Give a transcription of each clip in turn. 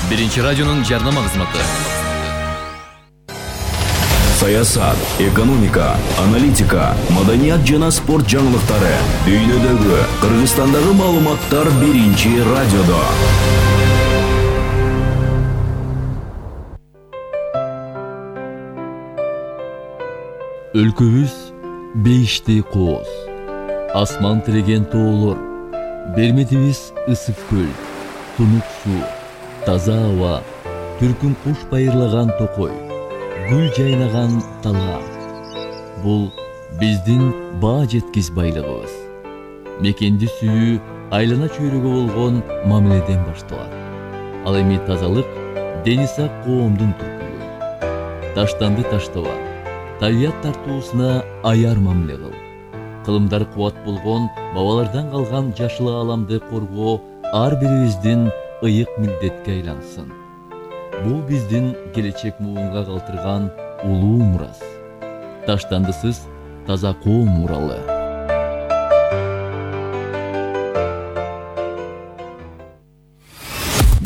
Биринчи радионун жарнама кызматы. Саясат, экономика, аналитика, маданият жана спорт жаңылыктары. Дүйнөдөгү, Кыргызстандагы маалыматтар Биринчи радиодо. Өлкөбүз бейиштей кооз, асман тиреген тоолор, берметибиз ысык көл, тунук суу, таза аба, түркүн куш байырлаган токой, гүл жайнаган талаа. Бул биздин баа жеткис байлыгыбыз. Мекенди сүйүү айлана чөйрөгө болгон мамиледен башталат. Ал эми тазалык дени сак коомдун түркүлүгү. Таштанды таштаба, табият тартуусуна аяр мамиле кыл. Кылымдар кубат болгон бабалардан калган жашыл ааламды коргоо ар бирибиздин ыйык милдетке айлансын. Бул биздин келечек муунга калтырган улуу мурас. Таштандысыз таза коом муралы.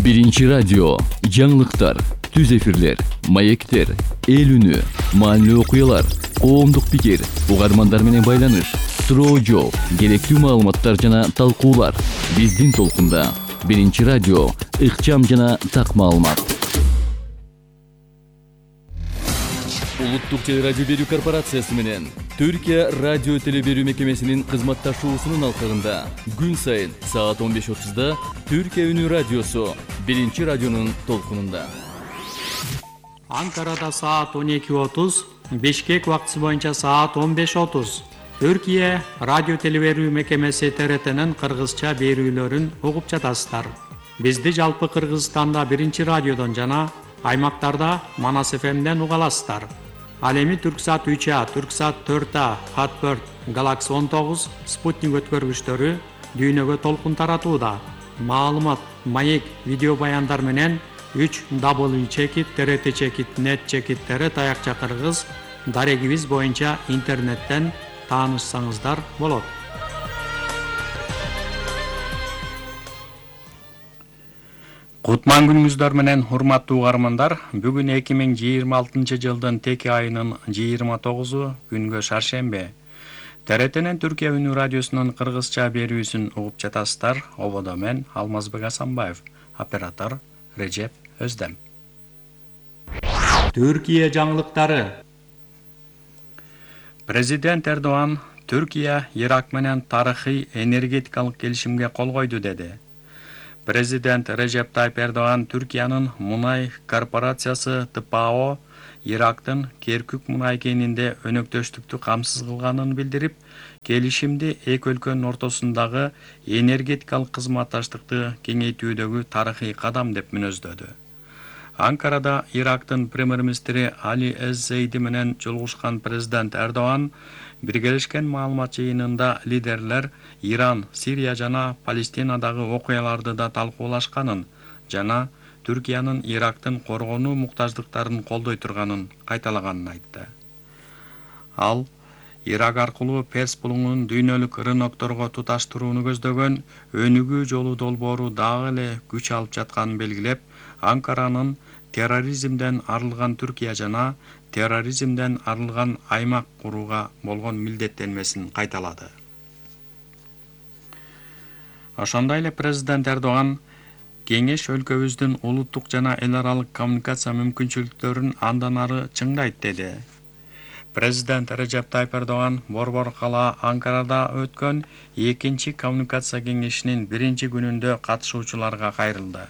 Биринчи радио, жаңылыктар, түз эфирлер, маектер, эл үнү, маанилүү окуялар, коомдук пикир, угармандар менен байланыш, суроо жооп, керектүү маалыматтар жана талкуулар. Биздин толкунда Биринчи радио, ыкчам жана так маалымат. Улуттук телерадио берүү корпорациясы менен Түркия радио теле берүү мекемесинин кызматташуусунун алкагында күн сайын саат 15:30 Түркия үнү радиосу Биринчи радионун толкунунда. Анкарада саат 12:30, Бишкек убактысы боюнча саат 15:30. Түркия радио теле берүү мекемеси ТРТнын кыргызча берүүлөрүн угуп жатасыздар. Бизди жалпы Кыргызстанда Биринчи радиодон жана аймактарда Манас ФМден уга аласыздар. Ал эми Түрксат 3А, Түрксат 4А, Хатберт, Галакси 19, Спутник өткөргүчтөрү дүйнөгө толкун таратууда. Маалымат, маек, видео баяндар менен 3w.trt.net таякча кыргыз дарегибиз боюнча интернеттен таанышсаңыздар болот. Кутман күнүңүздөр менен урматтуу угармандар, бүгүн 2026 жылдын теке айынын 29 күнгө шаршембе. ТРТнин Түркия үнү радиосунун кыргызча берүүсүн угуп жатасыздар. Ободо мен Алмазбек Асанбаев, оператор Режеп Өздем. Түркия жаңылыктары. Президент Эрдоган Түркия Ирак менен тарыхый энергетикалык келишимге кол койду деди. Президент Режеп Тайып Эрдоган Түркиянын мунай корпорациясы ТПАО Ирактын Керкүк мунай кенинде өнөктөштүктү камсыз кылганын билдирип, келишимди эки өлкөнүн ортосундагы энергетикалык кызматташтыкты кеңейтүүдөгү тарыхый кадам деп мүнөздөдү. Анкарада Ирактын премьер-министри Али Эз-Зейди менен жолугушкан президент Эрдоган биргелешкен маалымат жыйынында лидерлер Иран, Сирия жана Палестинадагы окуяларды да талкуулашканын жана Түркиянын Ирактын коргонуу муктаждыктарын колдой турганын кайталаганын айтты. Ал Ирак аркылуу Перс булуңун дүйнөлүк рынокторго туташтырууну көздөгөн өнүгүү жолу долбоору дагы эле күч алып жатканын белгилеп, Анкаранын терроризмден арылган Түркия жана терроризмден арылган аймак курууга болгон милдеттенмесин кайталады. Ошондой эле президент Эрдоган кеңеш өлкөбүздүн улуттук жана эл аралык коммуникация мүмкүнчүлүктөрүн андан ары чыңдайт деди. Президент Режеп Тайып Эрдоган Борбор кала Анкарада өткөн 2-чи коммуникация кеңешинин 1-чи күнүндө катышуучуларга кайрылды.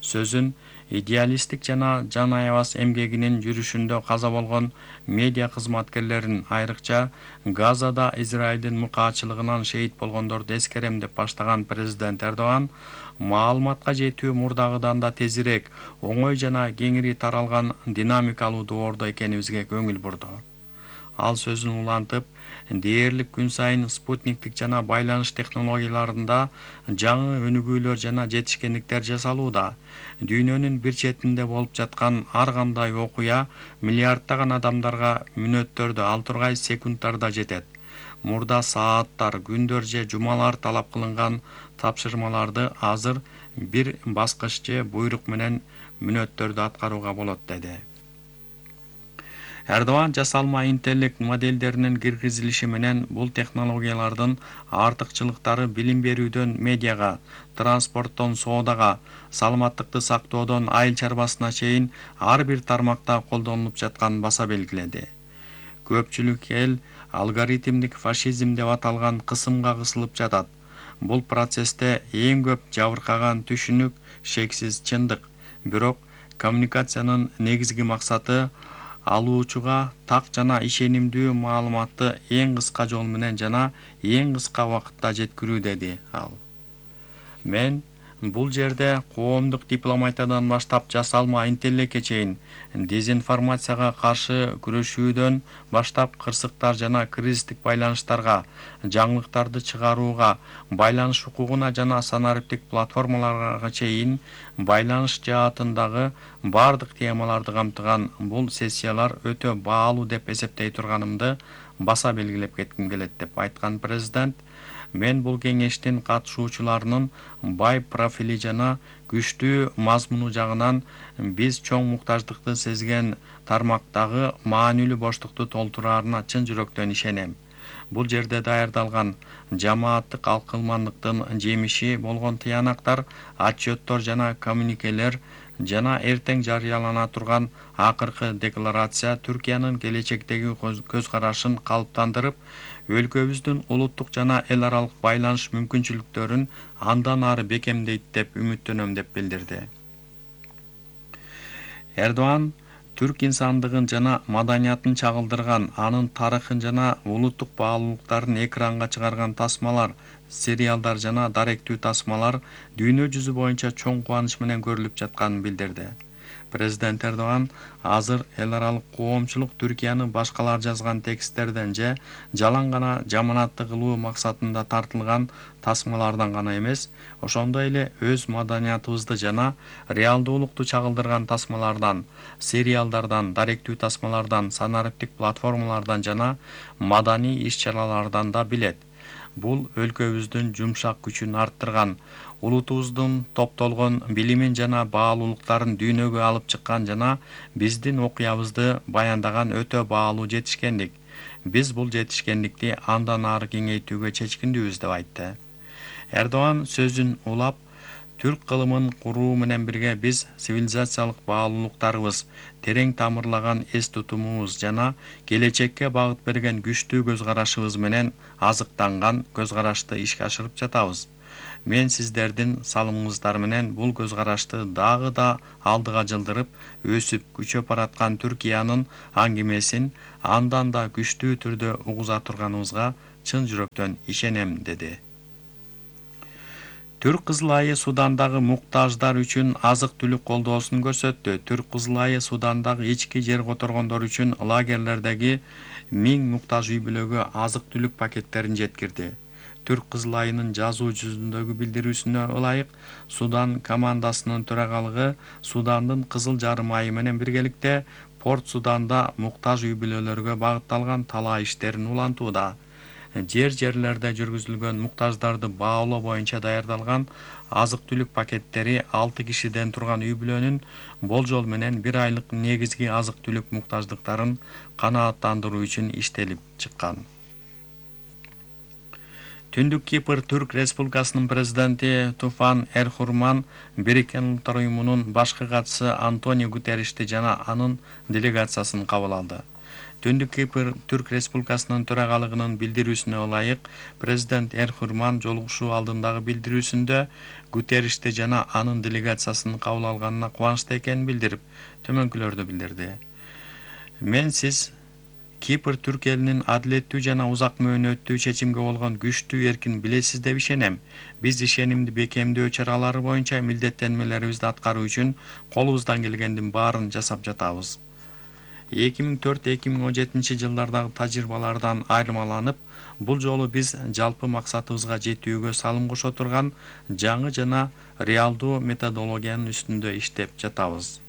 Сөзүн идеалисттик жана жан аябас эмгегинин жүрүшүндө каза болгон медиа кызматкерлерин, айрыкча Газада Израилдин мыкаачылыгынан шейит болгондорду эскерем деп баштаган президент Эрдоган маалыматка жетүү мурдагыдан да тезирээк, оңой жана кеңири таралган динамикалуу доордо экенибизге көңүл бурду. Ал сөзүн улантып, дээрлик күн сайын спутниктик жана байланыш технологияларында жаңы өнүгүүлөр жана жетишкендиктер жасалууда. Дүйнөнүн бир четинде болуп жаткан ар кандай окуя миллиарддаган адамдарга мүнөттөрдө, ал тургай секундтарда жетет. Мурда сааттар, күндөр же жумалар талап кылынган тапшырмаларды азыр бир баскыч же буйрук менен мүнөттөрдү аткарууга болот деди. Эрдоган жасалма интеллект моделдеринин киргизилиши менен бул технологиялардын артыкчылыктары билим берүүдөн медиага, транспорттон соодага, саламаттыкты сактоодон айыл чарбасына чейин ар бир тармакта колдонулуп жатканын баса белгиледи. Көпчүлүк эл алгоритмдик фашизм деп аталган кысымга кысылып жатат. Бул процессте эң көп жабыркаган түшүнүк шексиз чындык. Бирок коммуникациянын негизги максаты алуучуга так жана ишенимдүү маалыматты эң кыска жол менен жана эң кыска убакытта жеткирүү, деди ал. Мен бул жерде коомдук дипломатиядан баштап жасалма интеллектке чейин дезинформацияга каршы күрөшүүдөн баштап кырсыктар жана кризистик байланыштарга, жаңылыктарды чыгарууга, байланыш укугуна жана санариптик платформаларга чейин байланыш жаатындагы бардык темаларды камтыган бул сессиялар өтө баалуу деп эсептей турганымды баса белгилеп кетким келет, деп айткан президент. Мен бул кеңештин катышуучуларынын бай профили жана күчтүү мазмуну жагынан биз чоң муктаждыкты сезген тармактагы маанилүү боштукту толтураарына чын жүрөктөн ишенем. Бул жерде даярдалган жамааттык алкылмандыктын жемиши болгон тыянактар, отчеттор жана коммуникелер жана эртең жарыялана турган акыркы декларация Түркиянын келечектеги көз карашын калыптандырып, өлкөбүздүн улуттук жана эл аралык байланыш мүмкүнчүлүктөрүн андан ары бекемдейт деп үмүттөнөм, деп билдирди. Эрдоган түрк инсандыгын жана маданиятын чагылдырган, анын тарыхын жана улуттук баалуулуктарын экранга чыгарган тасмалар, сериалдар жана даректүү тасмалар дүйнө жүзү боюнча чоң кубаныч менен көрүлүп жатканын билдирди. Президент Эрдоган азыр эл аралык коомчулук Түркияны башкалар жазган тексттерден же жалаң гана жаманатты кылуу максатында тартылган тасмалардан гана эмес, ошондой эле өз маданиятыбызды жана реалдуулукту чагылдырган тасмалардан, сериалдардан, даректүү тасмалардан, санариптик платформалардан жана маданий иш-чаралардан да билет. Бул өлкөбүздүн жумшак күчүн арттырган, улутубуздун топтолгон билимин жана баалуулуктарын дүйнөгө алып чыккан жана биздин окуябызды баяндаган өтө баалуу жетишкендик. Биз бул жетишкендикти андан ары кеңейтүүгө чечкиндүүбүз, деп айтты. Эрдоган сөзүн улап, түрк кылымын куруу менен бирге биз цивилизациялык баалуулуктарыбыз, терең тамырлаган эс тутумубуз жана келечекке багыт берген күчтүү көз карашыбыз менен азыктанган көз карашты ишке ашырып жатабыз. Мен сиздердин салымыңыздар менен бул көз карашты дагы да алдыга жылдырып, өсүп, күчөп бараткан Түркиянын аңгемесин андан да күчтүү түрдө угуза турганыбызга чын жүрөктөн ишенем, деди. Түрк Кызыл айы Судандагы муктаждар үчүн азык-түлүк колдоосун көрсөттү. Түрк Кызыл айы Судандагы ички жер которгондор үчүн лагерлердеги 1000 муктаж үй-бүлөгө азык-түлүк пакеттерин жеткирди. Түрк Кызыл айынын жазуу жүзүндөгү билдирүүсүнө ылайык, Судан командасынын төрагалыгы Судандын Кызыл жарым айы менен биргеликте Порт Суданда муктаж үй-бүлөлөргө багытталган талаа иштерин улантууда. Жерлерде жүргүзүлгөн муктаждарды баалоо боюнча даярдалган азык-түлүк пакеттери 6 кишиден турган үй-бүлөнүн болжол менен 1 айлык негизги азык-түлүк муктаждыктарын канааттандыруу үчүн иштелип чыккан. Түндүк Кипр Түрк Республикасынын президенти Туфан Эрхурман Бириккен Улуттар уюмунун башкы катчысы Антонио Гутерришти жана анын делегациясын кабыл алды. Түндүк Кипр Түрк Республикасынын төрагалыгынын билдирүүсүнө ылайык, президент Эрхурман жолугушуу алдындагы билдирүүсүндө Гутерришти жана анын делегациясын кабыл алганына кубанычта экенин билдирип, төмөнкүлөрдү билдирди. Мен сиз Кипр Түрк элинин адилеттүү жана узак мөөнөттүү чечимге болгон күчтүү эркин билесиз деп ишенем. Биз ишенимди бекемдөө чаралары боюнча милдеттенмелерибизди аткаруу үчүн колубуздан келгендин баарын жасап жатабыз. 2004-2017 жылдардагы тажрыйбалардан айырмаланып, бул жолу биз жалпы максатыбызга жетүүгө салым кошо турган жаңы жана реалдуу методологиянын үстүндө иштеп жатабыз.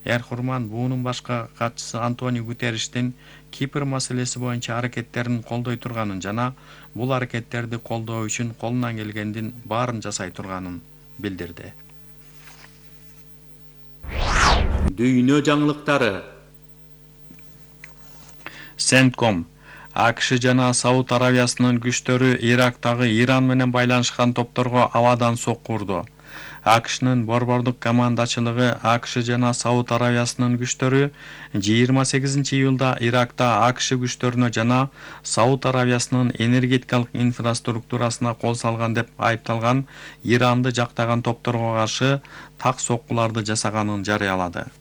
Эрхурман буунун башка катчысы Антонио Гутерриштин Кипр маселеси боюнча аракеттерин колдой турганын жана бул аракеттерди колдоо үчүн колунан келгендин баарын жасай турганын билдирди. Дүйнө жаңылыктары. CENTCOM АКШ жана Сауд Аравиясынын күчтөрү Ирактагы Иран менен байланышкан топторго абадан сокку урду. АКШнын борбордук командачылыгы АКШ жана Сауд Аравиясынын күчтөрү 28-июлда Иракта АКШ күчтөрүнө жана Сауд Аравиясынын энергетикалык инфраструктурасына кол салган деп айыпталган Иранды жактаган топторго каршы так соккуларды жасаганын жарыялады.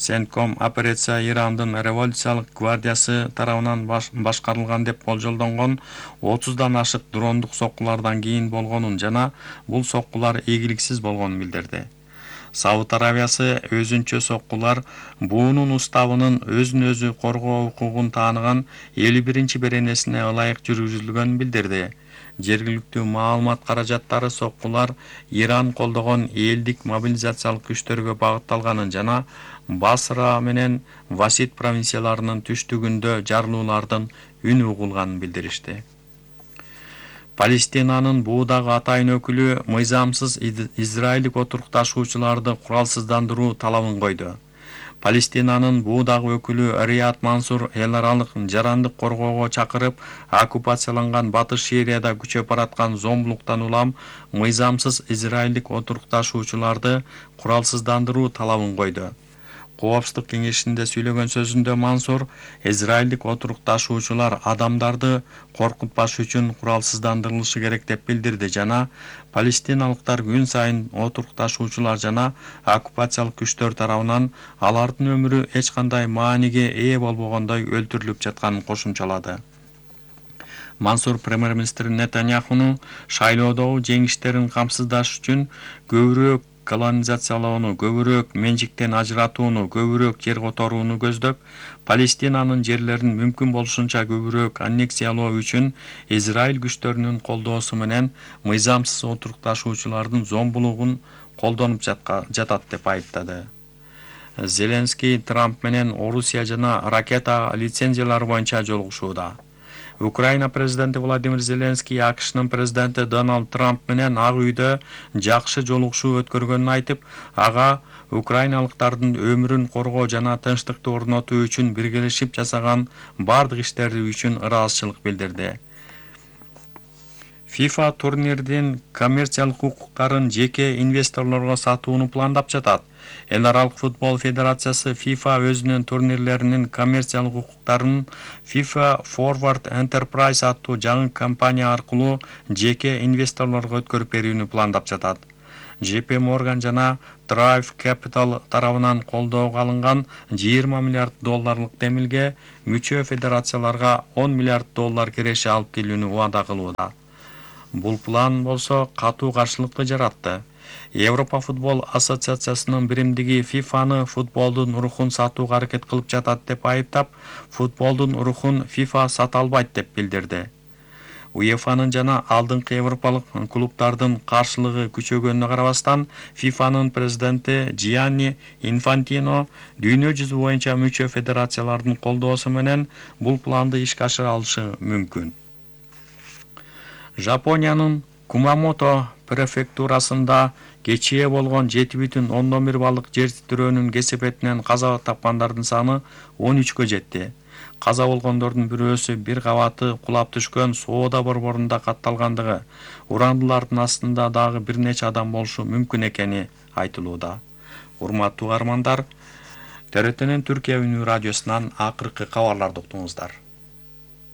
CENTCOM операция Ирандын революциялык гвардиясы тарабынан башкарылган деп болжолдонгон 30дан ашык дрондук соккулардан кийин болгонун жана бул соккулар ийгиликсиз болгонун билдирди. Сауд Аравиясы өзүнчө соккулар буунун уставынын өзүн өзү коргоо укугун тааныган 51-беренесине ылайык жүргүзүлгөнүн билдирди. Жергиликтүү маалымат каражаттары соккулар Иран колдогон элдик мобилизациялык күчтөргө багытталганын жана Басра менен Васид провинцияларынын түштүгүндө жарылуулардын үн угулганын билдиришти. Палестинанын буудагы атайын өкүлү мыйзамсыз израилдик отурукташуучуларды куралсыздандыруу талабын койду. Палестинанын буудагы өкүлү Рият Мансур эл аралык жарандык коргоого чакырып, оккупацияланган Батыш Сирияда күчөп бараткан зомбулуктан улам мыйзамсыз израилдик отурукташуучуларды куралсыздандыруу талабын койду. Коопсуздук кеңешинде сүйлөгөн сөзүндө Мансур израилдик отурукташуучулар адамдарды коркутпаш үчүн куралсыздандырылышы керек деп билдирди жана палестиналыктар күн сайын отурукташуучулар жана оккупациялык күчтөр тарабынан алардын өмүрү эч кандай мааниге ээ болбогондой өлтүрүлүп жатканын кошумчалады. Мансур премьер-министр Нетаньяхуну шайлоодогу жеңиштерин камсыздаш үчүн көбүрөөк колонизациялоону, көбүрөөк менчиктен ажыратууну, көбүрөөк жер которууну көздөп, Палестинанын жерлерин мүмкүн болушунча көбүрөөк аннексиялоо үчүн Израиль күчтөрүнүн колдоосу менен мыйзамсыз отурукташуучулардын зомбулугун колдонуп жатат деп айыптады. Зеленский Трамп менен Орусия жана ракета лицензиялары боюнча жолугушууда. Украина президенти Владимир Зеленский АКШнын президенти Дональд Трамп менен Ак үйдө жакшы жолугушуу өткөргөнүн айтып, ага украиналыктардын өмүрүн коргоо жана тынчтыкты орнотуу үчүн биргелешип жасаган бардык иштери үчүн ыраазычылык билдирди. FIFA турнирдин коммерциялык укуктарын жеке инвесторлорго сатууну пландап жатат. Эл аралык футбол федерациясы FIFA өзүнүн турнирлеринин коммерциялык укуктарын FIFA Forward Enterprise аттуу жаңы компания аркылуу жеке инвесторлорго өткөрүп берүүнү пландап жатат. JP Morgan жана Drive Capital тарабынан колдоого алынган $20 миллиард демилге мүчө федерацияларга $10 миллиард киреше алып келүүнү убада кылууда. Бул план болсо катуу каршылыкты жаратты. Европа футбол ассоциациясынын биримдиги FIFA-ны футболдун рухун сатууга аракет кылып жатат деп айыптап, футболдун рухун FIFA сата албайт деп билдирди. UEFA-нын жана алдыңкы европалык клубтардын каршылыгы күчөгөнүнө карабастан, FIFA-нын президенти Gianni Infantino дүйнө жүзү боюнча мүчө федерациялардын колдоосу менен бул планды ишке ашыра алышы мүмкүн. Жапониянын Кумамото префектурасында кечээ болгон 7,1 баллык жер титирөөнүн кесепетинен каза тапкандардын саны 13-кө жетти. Каза болгондордун бирөөсү бир кабаты кулап түшкөн соода борборунда катталгандыгы, урандылардын астында дагы бир нече адам болушу мүмкүн экени айтылууда. Урматтуу угармандар, ТРТнин Түркия үнү радиосунан акыркы кабарларды уктуңуздар.